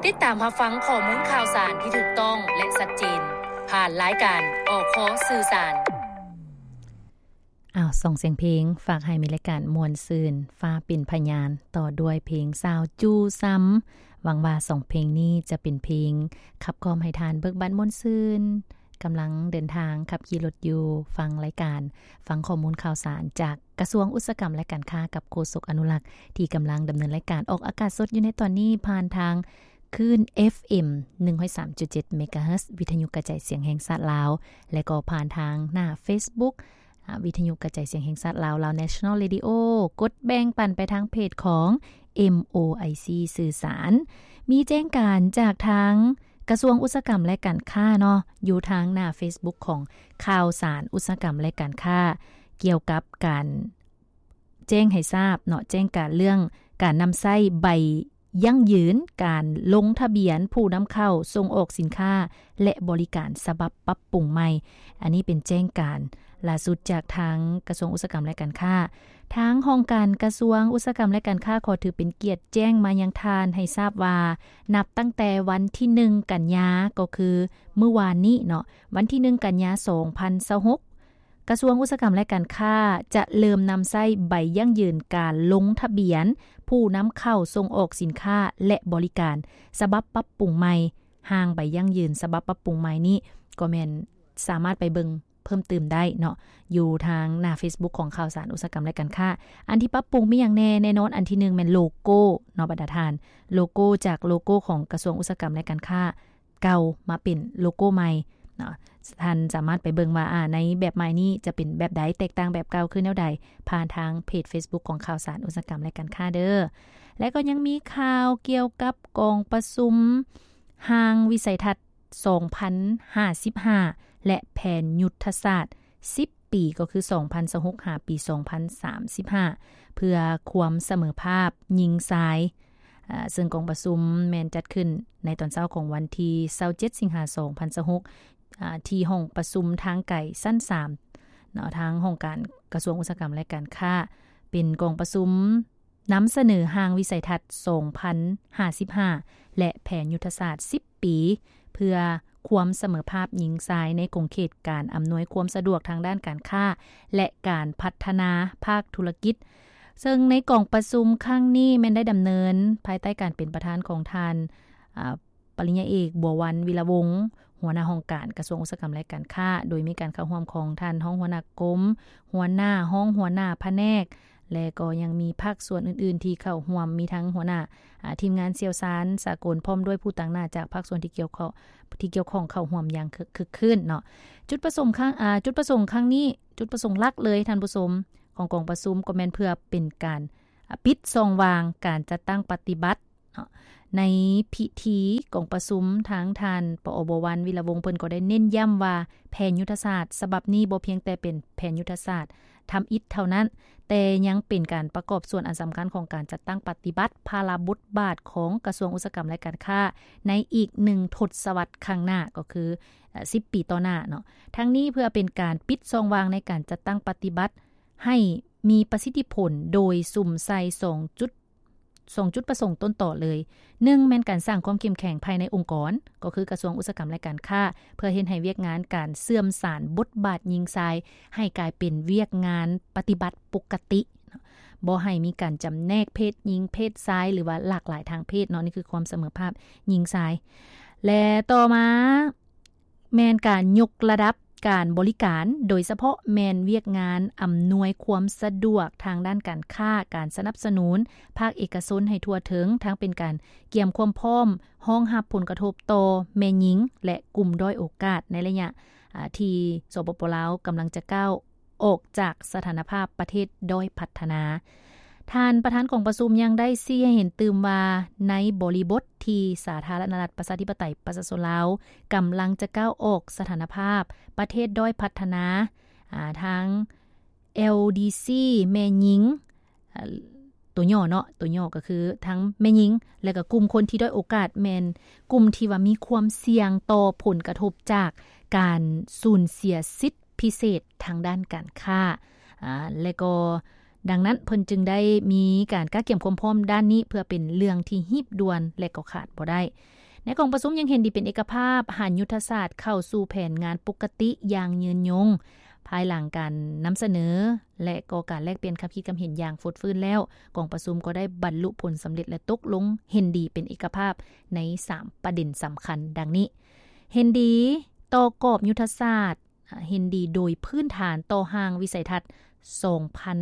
ຕິດຕາມຮັບຟັງຂໍ້ມູນຂ່າວສານທີ່ຖືກຕ້ອງ ແລະ ຊັດເຈນ ຜ່ານລາຍການ ອຄ ສື່ສານ. ອ້າວ ສອງສຽງເພງ ຝາກໃຫ້ມີລາຍການມ່ວນຊື່ນ ຟ້າເປັນພະຍານ ຕໍ່ດ້ວຍເພງສາວຈູ່ຊ່ຳ. ຫວັງວ່າສອງເພງນີ້ຈະເປັນເພງຂັບກລ່ອມໃຫ້ທ່ານເບີກບານມ່ວນຊື່ນ ກຳລັງເດີນທາງຂັບຂີ່ລົດຢູ່ ຟັງລາຍການ ຟັງຂໍ້ມູນຂ່າວສານຈາກ ກະຊວງອຸດສາຫະກຳ ແລະ ການຄ້າ ກັບໂຄສົກອະນຸລັກ ທີ່ກຳລັງດຳເນີນລາຍການອອກອາກາດສົດຢູ່ໃນຕອນນີ້ ຜ່ານທາງຄື້ນ ເອັຟເອັມ ໜຶ່ງຮ້ອຍສາມຈຸດເຈັດ ເມກາເຮີດ ວິທະຍຸກະຈາຍສຽງແຫ່ງຊາດລາວ ແລະ ກໍຜ່ານທາງໜ້າເຟສບຸກ ອາ ວິທະຍຸກະຈາຍສຽງແຫ່ງຊາດລາວ ລາວ National Radio ກົດແບ່ງປັນໄປທາງເພຈຂອງ ເອັມໂອໄອຊີ ສື່ສານ. ມີແຈ້ງການຈາກທາງ ກະຊວງອຸດສາຫະກຳ ແລະ ການຄ້າເນາະ ຢູ່ທາງໜ້າເຟສບຸກຂອງຂ່າວສານອຸດສາຫະກຳ ແລະ ການຄ້າ ກ່ຽວກັບການແຈ້ງໃຫ້ຊາບເນາະ ແຈ້ງການເລື່ອງການນຳໃຊ້ໃບຢັ້ງຢືນ ການລົງທະບຽນຜູ້ນຳເຂົ້າສົ່ງອອກສິນຄ້າ ແລະ ບໍລິການ ສະບັບປັບປຸງໃໝ່. ອັນນີ້ເປັນແຈ້ງການລ່າສຸດຈາກທາງກະຊວງອຸດສາຫະກຳ ແລະ ການຄ້າ. ທາງຫ້ອງການກະຊວງອຸດສາຫະກຳ ແລະ ການຄ້າ ຂໍຖືເປັນກຽດແຈ້ງມາຍັງທ່ານໃຫ້ຊາບວ່າ ນັບຕັ້ງແຕ່ວັນທີໜຶ່ງ ກັນຍາ ກໍຄືມື້ວານນີ້ເນາະ ວັນທີໜຶ່ງ ກັນຍາ ສອງພັນຊາວຫົກ ກະຊວງອຸດສາຫະກຳ ແລະ ການຄ້າ ຈະເລີ່ມນຳໃຊ້ໃບຢັ້ງຢືນການລົງທະບຽນຜູ້ນຳເຂົ້າສົ່ງອອກສິນຄ້າ ແລະ ບໍລິການ ສະບັບປັບປຸງໃໝ່. ຮ່າງໃບຢັ້ງຢືນສະບັບປັບປຸງໃໝ່ນີ້ ກໍແມ່ນສາມາດໄປເບິ່ງ ເພີ່ມຕື່ມໄດ້ເນາະ ຢູ່ທາງໜ້າເຟສບຸກຂອງຂ່າວສານອຸດສາຫະກຳ ແລະ ການຄ້າ. ອັນທີ່ປັບປຸງມີຫຍັງແດ່? ແນ່ນອນ ອັນທີໜຶ່ງແມ່ນໂລໂກ້ເນາະ ບັນດາທ່ານ, ໂລໂກ້ ຈາກໂລໂກ້ຂອງກະຊວງອຸດສາຫະກຳ ແລະ ການຄ້າເກົ່າ ມາເປັນໂລໂກ້ໃໝ່ເນາະ. ທ່ານສາມາດໄປເບິ່ງວ່າ ອາ ໃນແບບໃໝ່ນີ້ຈະເປັນແບບໃດ, ແຕກຕ່າງແບບເກົ່າຄືແນວໃດ ຜ່ານທາງເພຈເຟສບຸກຂອງຂ່າວສານອຸດສາຫະກຳ ແລະ ການຄ້າເດີ. ແລະ ກໍຍັງມີຂ່າວກ່ຽວກັບກອງປະຊຸມຮ່າງວິໄສທັດ ສອງພັນຫ້າສິບຫ້າ ແລະ ແຜນຍຸດທະສາດສິບປີ ກໍຄື ສອງພັນຊາວຫົກ ຫາປີ ສອງພັນສາມສິບຫ້າ ເພື່ອຄວາມສະເໝີພາບຍິງຊາຍ, ເຊິ່ງກອງປະຊຸມແມ່ນຈັດຂຶ້ນໃນຕອນເຊົ້າຂອງວັນທີຊາວເຈັດ ສິງຫາ ສອງພັນຊາວຫົກ ທີ່ຫ້ອງປະຊຸມທາງໄກຊັ້ນສາມເນາະ, ທາງຫ້ອງການກະຊວງອຸດສາຫະກຳ ແລະ ການຄ້າ ເປັນກອງປະຊຸມ ນຳສະເໜີຮ່າງວິໄສທັດ ສອງພັນຫ້າສິບຫ້າ ແລະ ແຜນຍຸດທະສາດສິບປີ ເພື່ອຄວາມສະເໝີພາບຍິງຊາຍໃນຂົງເຂດການອຳນວຍຄວາມສະດວກທາງດ້ານການຄ້າ ແລະ ການພັດທະນາພາກທຸລະກິດ. ເຊິ່ງໃນກອງປະຊຸມຄັ້ງນີ້ແມ່ນໄດ້ດຳເນີນພາຍໃຕ້ການເປັນປະທານຂອງທ່ານ ອາ ປະລິນຍາເອກ ບົວວັນ ວິລະວົງ ຫົວໜ້າຫ້ອງການກະຊວງອຸດສາຫະກຳ ແລະ ການຄ້າ, ໂດຍມີການເຂົ້າຮ່ວມຂອງທ່ານຮອງຫົວໜ້າກົມ, ຫົວໜ້າ, ຮອງຫົວໜ້າພະແນກ ແລະ ກໍຍັງມີພາກສ່ວນອື່ນໆທີ່ເຂົ້າຮ່ວມ, ມີທັງຫົວໜ້າ ອາ ທີມງານຊ່ຽວຊານສາກົນ ພ້ອມດ້ວຍຜູ້ຕາງໜ້າຈາກພາກສ່ວນທີ່ກ່ຽວຂ້ອງ, ທີ່ກ່ຽວຂ້ອງເຂົ້າຮ່ວມຢ່າງຄຶກ, ຄຶກຄື້ນເນາະ. ຈຸດປະສົງຄັ້ງ, ອາ, ຈຸດປະສົງຄັ້ງນີ້, ຈຸດປະສົງຫຼັກເລີຍທ່ານຜູ້ຊົມ ຂອງກອງປະຊຸມກໍແມ່ນເພື່ອເປັນການ, ອາ, ປິດຊ່ອງວ່າງການຈັດຕັ້ງປະຕິບັດ ເນາະ. ໃນພິທີກອງປະຊຸມ ທາງທ່ານ ປອ ບົວວັນ ວິລະວົງ ເພິ່ນກໍໄດ້ເນັ້ນຢ້ຳວ່າ ແຜນຍຸດທະສາດສະບັບນີ້ບໍ່ພຽງແຕ່ເປັນແຜນຍຸດທະສາດທຳອິດເທົ່ານັ້ນ, ແຕ່ຍັງເປັນການປະກອບສ່ວນອັນສຳຄັນຂອງການຈັດຕັ້ງປະຕິບັດພາລະບົດບາດຂອງກະຊວງອຸດສາຫະກຳ ແລະ ການຄ້າ ໃນອີກໜຶ່ງທົດສະວັດຂ້າງໜ້າ, ກໍຄື ເອີ່ ສິບປີຕໍ່ໜ້າເນາະ. ທັງນີ້ເພື່ອເປັນການປິດຊ່ອງວ່າງໃນການຈັດຕັ້ງປະຕິບັດໃຫ້ມີປະສິດທິຜົນ ໂດຍສຸມໃສ່ສອງຈຸດ ສອງຈຸດປະສົງຕົ້ນຕໍເລີຍ. ໜຶ່ງ ແມ່ນການສ້າງຄວາມເຂັ້ມແຂງພາຍໃນອົງກອນ, ກໍຄືກະຊວງອຸດສາຫະກຳ ແລະ ການຄ້າ, ເພື່ອເຮັດໃຫ້ວຽກງານການເຊື່ອມສານບົດບາດຍິງຊາຍ ໃຫ້ກາຍເປັນວຽກງານປະຕິບັດປົກກະຕິ, ບໍ່ໃຫ້ມີການຈຳແນກເພດຍິງເພດຊາຍ ຫຼືວ່າຫຼາກຫຼາຍທາງເພດເນາະ. ນີ້ຄືຄວາມສະເໝີພາບຍິງຊາຍ. ແລະ ຕໍ່ມາ ແມ່ນການຍົກລະດັບການບໍລິການ, ໂດຍສະເພາະແມ່ນວຽກງານອຳນວຍຄວາມສະດວກທາງດ້ານການຄ້າ, ການສະໜັບສະໜູນພາກເອກະຊົນໃຫ້ທົ່ວເຖິງ, ທັງເປັນການກຽມຄວາມພ້ອມຮອງຮັບຜົນກະທົບຕໍ່ແມ່ຍິງ ແລະ ກຸ່ມດ້ອຍໂອກາດໃນໄລຍະ, ອາ, ທີ່ ສປປ ລາວ ກຳລັງຈະກ້າວ ອອກຈາກສະຖານະພາບປະເທດດ້ອຍພັດທະນາ. ທ່ານປະທານກອງປະຊຸມຍັງໄດ້ຊີ້ໃຫ້ເຫັນຕື່ມວ່າ ໃນບໍລິບົດທີ່ສາທາລະນະລັດປະຊາທິປະໄຕປະຊາຊົນລາວກຳລັງຈະກ້າວອອກສະຖານະພາບປະເທດດ້ອຍພັດທະນາ, ອາ, ທາງ ແອລດີຊີ ແມ່ຍິງ, ອາ, ຕົວຫຍໍ້ເນາະ, ຕົວຫຍໍ້ກໍຄືທັງແມ່ຍິງ ແລະ ກໍກຸ່ມຄົນທີ່ດ້ອຍໂອກາດ ແມ່ນກຸ່ມທີ່ວ່າມີຄວາມສ່ຽງຕໍ່ຜົນກະທົບຈາກການສູນເສຍສິດ ພິເສດທາງດ້ານການຄ້າ, ອາ, ແລະ ກໍ ດັ່ງນັ້ນເພິ່ນຈຶ່ງໄດ້ມີການກະກຽມຄວາມພ້ອມດ້ານນີ້ ເພື່ອເປັນເລື່ອງທີ່ຮີບດ່ວນ ແລະ ກໍຂາດບໍ່ໄດ້. ໃນກອງປະຊຸມຍັງເຫັນດີເປັນເອກະພາບ ຫັນຍຸດທະສາດເຂົ້າສູ່ແຜນງານປົກກະຕິຢ່າງຍືນຍົງ. ພາຍຫຼັງການນຳສະເໜີ ແລະ ກໍການແລກປ່ຽນຄຳຄິດຄຳເຫັນຢ່າງຟົດຟື້ນແລ້ວ, ກອງປະຊຸມກໍໄດ້ບັນລຸຜົນສຳເລັດ ແລະ ຕົກລົງເຫັນດີເປັນເອກະພາບໃນສາມປະເດັນສຳຄັນດັ່ງນີ້: ເຫັນດີຕໍ່ກອບຍຸດທະສາດ, ເຫັນດີໂດຍພື້ນຖານຕໍ່ຮ່າງວິໄສທັດສອງພັນ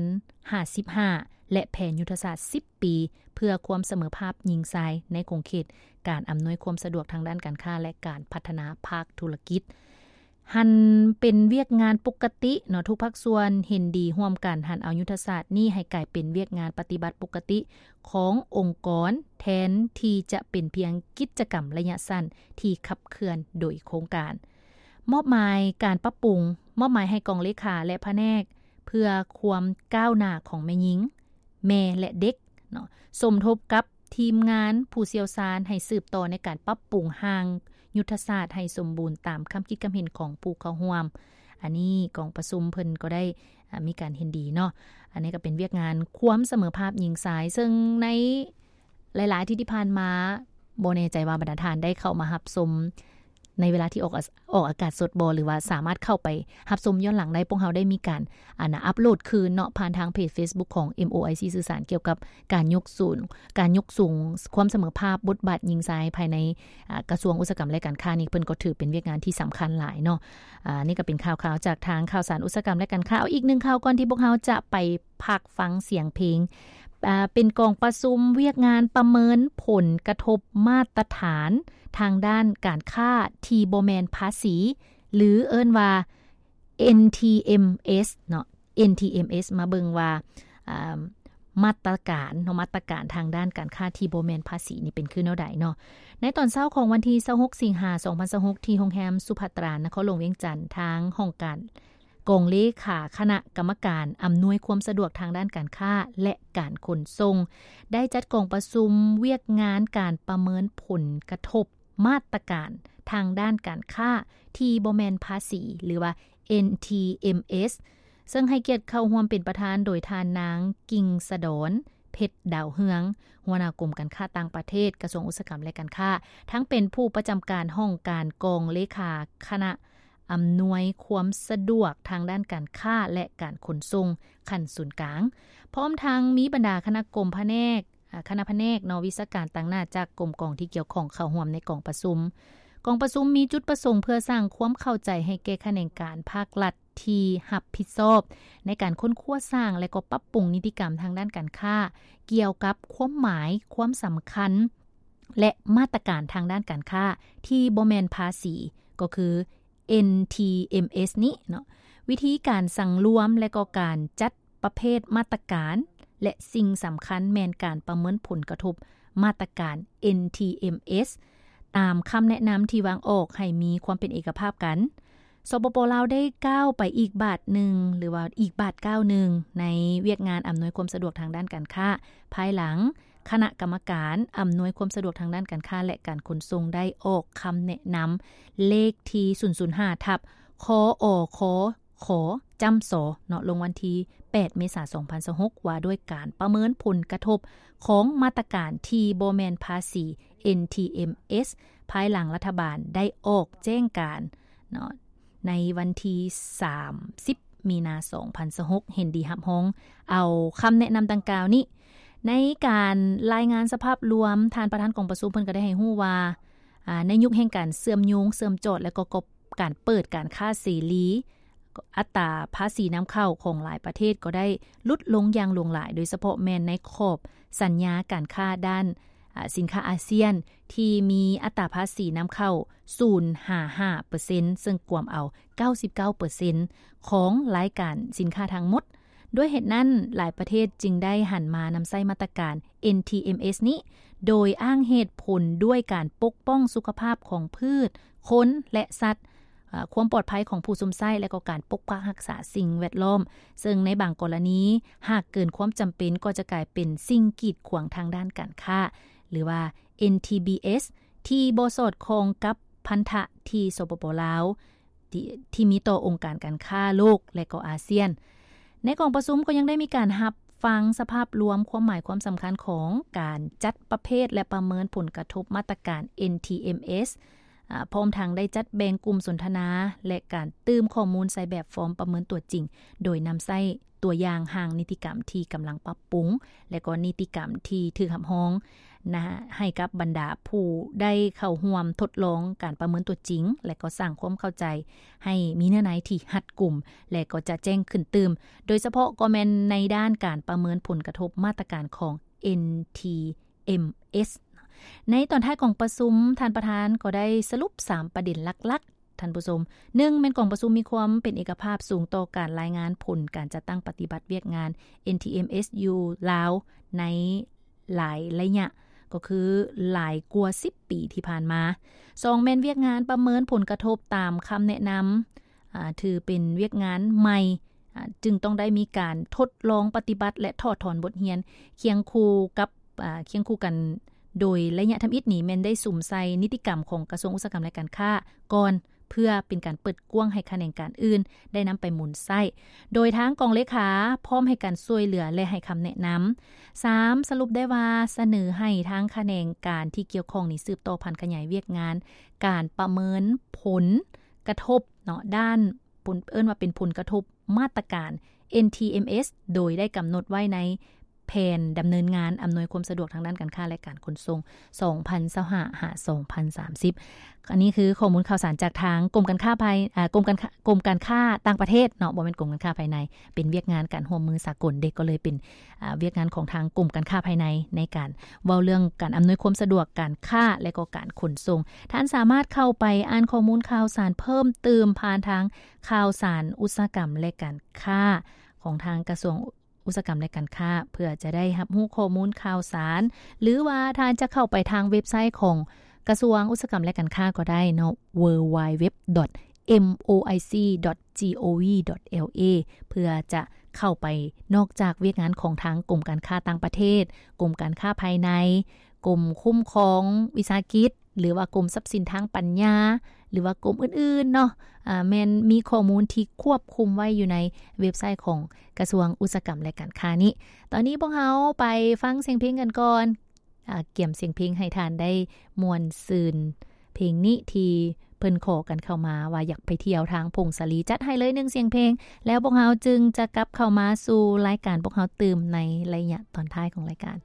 ຫ້າສິບຫ້າ ແລະ ແຜນຍຸດທະສາດສິບປີ ເພື່ອຄວາມສະເໝີພາບຍິງຊາຍໃນຂົງເຂດການອຳນວຍຄວາມສະດວກທາງດ້ານການຄ້າ ແລະ ການພັດທະນາພາກທຸລະກິດ. ຫັນເປັນວຽກງານປົກກະຕິເນາະ, ທຸກພາກສ່ວນເຫັນດີຮ່ວມກັນຫັນເອົາຍຸດທະສາດນີ້ໃຫ້ກາຍເປັນວຽກງານປະຕິບັດປົກກະຕິຂອງອົງກອນ ແທນທີ່ຈະເປັນພຽງກິດຈະກຳໄລຍະສັ້ນທີ່ຂັບເຄື່ອນໂດຍໂຄງການ. ມອບໝາຍການປັບປຸງ, ມອບໝາຍໃຫ້ກອງເລຂາ ແລະ ພະແນກເພື່ອຄວາມກ້າວໜ້າຂອງແມ່ຍິງ, ແມ່ ແລະ ເດັກເນາະ, ສົມທົບກັບທີມງານຜູ້ຊ່ຽວຊານໃຫ້ສືບຕໍ່ໃນການປັບປຸງຮ່າງຍຸດທະສາດໃຫ້ສົມບູນຕາມຄຳຄິດຄຳເຫັນຂອງຜູ້ເຂົ້າຮ່ວມ. ອັນນີ້ກອງປະຊຸມເພິ່ນກໍໄດ້ ອາ ມີການເຫັນດີເນາະ. ອັນນີ້ກໍເປັນວຽກງານຄວາມສະເໝີພາບຍິງຊາຍ, ເຊິ່ງໃນ ຫຼາຍໆອາທິດທີ່ຜ່ານມາ ບໍ່ແນ່ໃຈວ່າບັນດາທ່ານໄດ້ເຂົ້າມາຮັບຊົມໃນເວລາທີ່ອອກອາ ອອກອາກາດສົດບໍ່ ຫຼືວ່າສາມາດເຂົ້າໄປຮັບຊົມຍ້ອນຫຼັງໄດ້. ພວກເຮົາໄດ້ມີການ ອັນນະ ອັບໂຫຼດຄືນເນາະ ຜ່ານທາງເພຈເຟສບຸກຂອງ ເອັມໂອໄອຊີ ສື່ສານກ່ຽວກັບການຍົກສູງ ການຍົກສູງຄວາມສະເໝີພາບບົດບາດຍິງຊາຍພາຍໃນ ອາ ກະຊວງອຸດສາຫະກຳ ແລະ ການຄ້ານີ້ ເພິ່ນກໍຖືເປັນວຽກງານທີ່ສຳຄັນຫຼາຍເນາະ. ອາ ນີ້ກໍເປັນຂ່າວໆຈາກທາງຂ່າວສານອຸດສາຫະກຳ ແລະ ການຄ້າ. ເອົາອີກໜຶ່ງຂ່າວກ່ອນທີ່ພວກເຮົາຈະໄປ ພັກຟັງສຽງເພງ. ເປັນກອງປະຊຸມວຽກງານປະເມີນຜົນກະທົບມາດຕະຖານທາງດ້ານການຄ້າທີ່ບໍ່ແມ່ນພາສີ ຫຼື ເອີ້ນວ່າ ເອັນທີເອັມເອສ ເນາະ, ເອັນທີເອັມເອສ ມາເບິ່ງວ່າ ອາ ມາດຕະການເນາະ, ມາດຕະການທາງດ້ານການຄ້າທີ່ບໍ່ແມ່ນພາສີນີ້ເປັນຄືແນວໃດເນາະ. ໃນຕອນເຊົ້າຂອງວັນທີຊາວຫົກ ສິງຫາ ສອງພັນຊາວຫົກ ທີ່ໂຮງແຮມສຸພັດຕາ ນະຄອນຫຼວງວຽງຈັນ, ທາງຫ້ອງການ ກອງເລຂາຄະນະກຳມະການອຳນວຍຄວາມສະດວກທາງດ້ານການຄ້າ ແລະ ການຂົນສົ່ງ ໄດ້ຈັດກອງປະຊຸມວຽກງານການປະເມີນຜົນກະທົບມາດຕະການທາງດ້ານການຄ້າທີ່ບໍ່ແມ່ນພາສີ ຫຼືວ່າ ເອັນທີເອັມເອສ ເຊິ່ງໃຫ້ກຽດເຂົ້າຮ່ວມເປັນປະທານໂດຍທ່ານນາງ ກິ່ງສະດອນ ເພັດດາວເຮືອງ, ຫົວໜ້າກົມການຄ້າຕ່າງປະເທດ, ກະຊວງອຸດສາຫະກຳ ແລະ ການຄ້າ, ທັງເປັນຜູ້ປະຈຳການຫ້ອງການກອງເລຂາຄະນະ ອຳນວຍຄວາມສະດວກທາງດ້ານການຄ້າ ແລະ ການຂົນສົ່ງຂັ້ນສູນກາງ, ພ້ອມທັງມີບັນດາຄະນະກົມພະແນກ, ອາ, ຄະນະພະແນກເນາະ, ວິຊາການຕາງໜ້າຈາກກົມກອງທີ່ກ່ຽວຂ້ອງເຂົ້າຮ່ວມໃນກອງປະຊຸມ. ກອງປະຊຸມມີຈຸດປະສົງເພື່ອສ້າງຄວາມເຂົ້າໃຈໃຫ້ແກ່ຂະແໜງການພາກລັດທີ່ຮັບຜິດຊອບໃນການຄົ້ນຄວ້າສ້າງ ແລະ ກໍປັບປຸງນິຕິກຳທາງດ້ານການຄ້າ ກ່ຽວກັບຄວາມໝາຍ, ຄວາມສຳຄັນ ແລະ ມາດຕະການທາງດ້ານການຄ້າທີ່ບໍ່ແມ່ນພາສີ ກໍຄື ເອັນທີເອັມເອສ ນີ້ເນາະ, ວິທີການສັງລວມ ແລະ ກໍການຈັດປະເພດມາດຕະການ ແລະ ສິ່ງສຳຄັນແມ່ນການປະເມີນຜົນກະທົບມາດຕະການ ເອັນທີເອັມເອສ ຕາມຄຳແນະນຳທີ່ວາງອອກໃຫ້ມີຄວາມເປັນເອກະພາບກັນ. ສປປ ລາວ ໄດ້ກ້າວໄປອີກບາດໜຶ່ງ ຫຼືວ່າອີກບາດກ້າວໜຶ່ງ ໃນວຽກງານອຳນວຍຄວາມສະດວກທາງດ້ານການຄ້າ ພາຍຫຼັງຄະນະກຳມະການອຳນວຍຄວາມສະດວກທາງດ້ານການຄ້າ ແລະ ການຂົນສົ່ງ ໄດ້ອອກຄຳແນະນຳເລກທີ ສູນສູນຫ້າ ທັບ ຄອຄ ຈຳ ສ ເນາະ ລົງວັນທີ ແປດ ເມສາ ສອງພັນຊາວຫົກ ວ່າດ້ວຍການປະເມີນຜົນກະທົບຂອງມາດຕະການທີ່ບໍ່ແມ່ນພາສີ ເອັນທີເອັມເອສ ພາຍຫຼັງລັດຖະບານໄດ້ອອກແຈ້ງການເນາະ ໃນວັນທີ ສາມສິບ ມີນາ ສອງພັນຊາວຫົກ ເຫັນດີຮັບຮອງເອົາຄຳແນະນຳດັ່ງກ່າວນີ້. ໃນການລາຍງານສະພາບລວມ, ທ່ານປະທານກອງປະຊຸມເພິ່ນກໍໄດ້ໃຫ້ຮູ້ວ່າ ອາ ໃນຍຸກແຫ່ງການເຊື່ອມໂຍງ, ເຊື່ອມຈອດ ແລະ ກໍ ກໍ ການເປີດການຄ້າເສລີ, ອັດຕາພາສີນຳເຂົ້າຂອງຫຼາຍປະເທດກໍໄດ້ຫຼຸດລົງຢ່າງຫຼວງຫຼາຍ, ໂດຍສະເພາະແມ່ນໃນຂອບສັນຍາການຄ້າດ້ານ ອາ ສິນຄ້າອາຊຽນ ທີ່ມີອັດຕາພາສີນຳເຂົ້າ ສູນຫາຫ້າເປີເຊັນ ເຊິ່ງກວມເອົາ ເກົ້າສິບເກົ້າເປີເຊັນ ຂອງລາຍການສິນຄ້າທັງໝົດ. ດ້ວຍເຫດນັ້ນ, ຫຼາຍປະເທດຈຶ່ງໄດ້ຫັນມານຳໃຊ້ມາດຕະການ ເອັນທີເອັມເອສ ນີ້ ໂດຍອ້າງເຫດຜົນດ້ວຍການປົກປ້ອງສຸຂະພາບຂອງພືດ, ຄົນ ແລະ ສັດ, ອາ, ຄວາມປອດໄພຂອງຜູ້ຊົມໃຊ້ ແລະ ກໍການປົກປັກຮັກສາສິ່ງແວດລ້ອມ, ເຊິ່ງໃນບາງກໍລະນີ ຫາກເກີນຄວາມຈຳເປັນ ກໍຈະກາຍເປັນສິ່ງກີດຂວາງທາງດ້ານການຄ້າ ຫຼືວ່າ ເອັນທີບີເອສ ທີ່ບໍ່ສອດຄ່ອງກັບພັນທະທີ່ ສປປ ລາວ ທີ່ ທີ່ມີຕໍ່ອົງການການຄ້າໂລກ ແລະ ກໍອາຊຽນ. ໃນກອງປະຊຸມກໍຍັງໄດ້ມີການຮັບ ຟັງສະພາບລວມຄວາມໝາຍຄວາມສຳຄັນຂອງການຈັດປະເພດ ແລະ ປະເມີນຜົນກະທົບມາດຕະການ NTMS ອາ ພ້ອມທັງໄດ້ຈັດແບ່ງກຸ່ມສົນທະນາ ແລະ ການຕື່ມຂໍ້ມູນໃສ່ແບບຟອມປະເມີນຕົວຈິງ ໂດຍນຳໃຊ້ຕົວຢ່າງຮ່າງນິຕິກຳທີ່ກຳລັງປັບປຸງ ແລະ ກໍນິຕິກຳທີ່ຖືກຮັບຮອງນະ ໃຫ້ກັບບັນດາຜູ້ໄດ້ເຂົ້າຮ່ວມທົດລອງການປະເມີນຕົວຈິງ ແລະ ກໍສ້າງຄວາມເຂົ້າໃຈໃຫ້ມີເນື້ອໃນທີ່ຮັດກຸມ ແລະ ກໍຈະແຈ້ງຂຶ້ນຕື່ມ ໂດຍສະເພາະກໍແມ່ນໃນດ້ານການປະເມີນຜົນກະທົບມາດຕະການຂອງ NTMS ໃນຕອນທ້າຍຂອງປະຊຸມ ທ່ານປະທານກໍໄດ້ສະຫຼຸບສາມປະເດັນຫຼັກໆ ທ່ານຜູ້ຊົມ. ໜຶ່ງ ແມ່ນກອງປະຊຸມມີຄວາມເປັນເອກະພາບສູງຕໍ່ການລາຍງານຜົນການຈັດຕັ້ງປະຕິບັດວຽກງານ NTMS ຢູ່ລາວໃນຫຼາຍໄລຍະ ກໍຄືຫຼາຍກວ່າສິບປີທີ່ຜ່ານມາ. ສອງ ແມ່ນວຽກງານປະເມີນຜົນກະທົບຕາມຄຳແນະນຳ ອາ ຖືເປັນວຽກງານໃໝ່ ອາ ຈຶ່ງຕ້ອງໄດ້ມີການທົດລອງປະຕິບັດ ແລະ ຖອດຖອນບົດຮຽນ ຄຽງຄູ່ກັບ ອາ ຄຽງຄູ່ກັນ ໂດຍໄລຍະທຳອິດນີ້ແມ່ນໄດ້ສຸມໃສ່ນິຕິກຳຂອງກະຊວງອຸດສາຫະກຳ ແລະ ການຄ້າກ່ອນ ເພື່ອເປັນການເປີດກວ້າງໃຫ້ຂະແໜງການອື່ນໄດ້ນຳໄປໝູນໃຊ້ ໂດຍທາງກອງເລຂາພ້ອມໃຫ້ການຊ່ວຍເຫຼືອ ແລະ ໃຫ້ຄຳແນະນຳ. ສາມ ສະຫຼຸບໄດ້ວ່າສະເໜີໃຫ້ທາງຂະແໜງການທີ່ກ່ຽວຂ້ອງນີ້ສືບຕໍ່ຜັນຂະຫຍາຍວຽກງານການປະເມີນຜົນກະທົບເນາະ ດ້ານ ເອີ້ນວ່າເປັນຜົນກະທົບມາດຕະການ NTMS ໂດຍໄດ້ກຳນົດໄວ້ໃນແຜນດຳເນີນງານອຳນວຍຄວາມສະດວກທາງດ້ານການຄ້າ ແລະ ການຂົນສົ່ງ ສອງພັນຊາວຫ້າ ຫາ ສອງພັນສາມສິບ. ອັນນີ້ຄືຂໍ້ມູນຂ່າວສານຈາກທາງກົມການຄ້າພາຍ ອາ ກົມການຄ້າ ກົມການຄ້າຕ່າງປະເທດເນາະ ບໍ່ແມ່ນກົມການຄ້າພາຍໃນ ເປັນວຽກງານການຮ່ວມມືສາກົນເດ ກໍເລີຍເປັນ ອາ ວຽກງານຂອງທາງກົມການຄ້າພາຍໃນ ໃນການເວົ້າເລື່ອງການອຳນວຍຄວາມສະດວກການຄ້າ ແລະ ກໍການຂົນສົ່ງ. ທ່ານສາມາດເຂົ້າໄປອ່ານຂໍ້ມູນຂ່າວສານເພີ່ມຕື່ມຜ່ານທາງຂ່າວສານອຸດສາຫະກຳ ແລະ ການຄ້າ ຂອງທາງກະຊວງອຸດສາຫະກຳ ແລະ ການຄ້າ ເພື່ອຈະໄດ້ຮັບຮູ້ຂໍ້ມູນຂ່າວສານ ຫຼືວ່າທ່ານຈະເຂົ້າໄປທາງເວັບໄຊຂອງກະຊວງອຸດສາຫະກຳ ແລະ ການຄ້າກໍໄດ້ເນາະ www.moic.gov.la ເພື່ອຈະເຂົ້າໄປ ນອກຈາກວຽກງານຂອງທາງກົມການຄ້າຕ່າງປະເທດ, ກົມການຄ້າພາຍໃນ, ກົມຄຸ້ມຄອງວິສາຫະກິດ ຫຼືວ່າກົມຊັບສິນທາງປັນຍາ ຫຼືວ່າກົມອື່ນໆເນາະ ອາ ແມ່ນມີຂໍ້ມູນທີ່ຄວບຄຸມໄວ້ຢູ່ໃນເວັບໄຊຂອງກະຊວງອຸດສາຫະກຳ ແລະ ການຄ້ານີ້. ຕອນນີ້ພວກເຮົາໄປຟັງສຽງເພງກັນກ່ອນ. ອາ ກຽມສຽງເພງໃຫ້ທ່ານໄດ້ມ່ວນຊື່ນ ເພງນີ້ທີ່ເພິ່ນຂໍກັນເຂົ້າມາວ່າຢາກໄປທ່ຽວທາງຜົ້ງສາລີ. ຈັດໃຫ້ເລີຍໜຶ່ງສຽງເພງ ແລ້ວພວກເຮົາຈຶ່ງຈະກັບເຂົ້າມາສູ່ລາຍການພວກເຮົາຕື່ມໃນໄລຍະຕອນທ້າຍຂອງລາຍການ.